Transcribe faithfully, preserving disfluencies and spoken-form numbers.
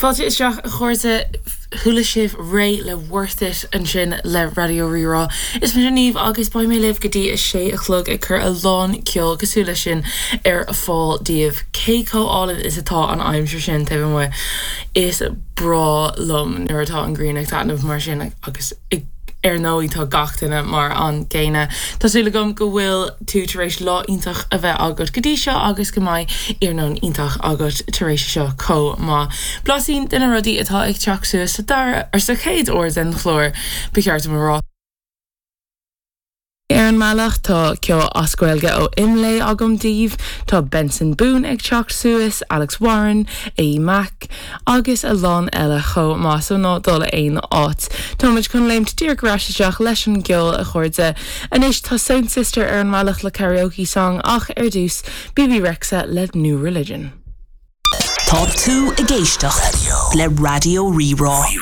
Fáilte isteach a chairde chuala sibh Raye le Worth It ansin le Raidió Rí-Rá. Is mise Niamh agus beidh mé libh go dtí a sé a chlog ag cur a lán ceol cosúil le sin ar fáil daoibh cé chomh hálainn is atá an aimsir sin taobh amuigh is breá liom nuair atá an ghrian ag taitneamh mar sin agus ag ar ndóigh tá gach duine mar an gcéanna. Tá súil agam go bhfuil tú tar éis lá iontach a bheith agat go dtí seo agus go mbeidh iarnóin iontach agat tar éis seo chomh maith. Blaisín de na rudaí atá ag teacht suas sa dara ar sa chéad uair den chlár ba cheart dom a rá. Ar an mbealach tá ceol as Gaeilge ó Imlé agam daoibh, tá Benson Boone ag teacht suas, Alex Warren, A Mac, agus a lán eile chomh maith so ná dul aon áit. Táimid chun léimt díreach ar ais isteach leis an gceol a chairde. Anois tá Sound Sister ar an mbealach le karaoke song ach ar dtús Bebe Rexha le New Religion. Tá tú ag éisteacht le Raidió Rí-Rá.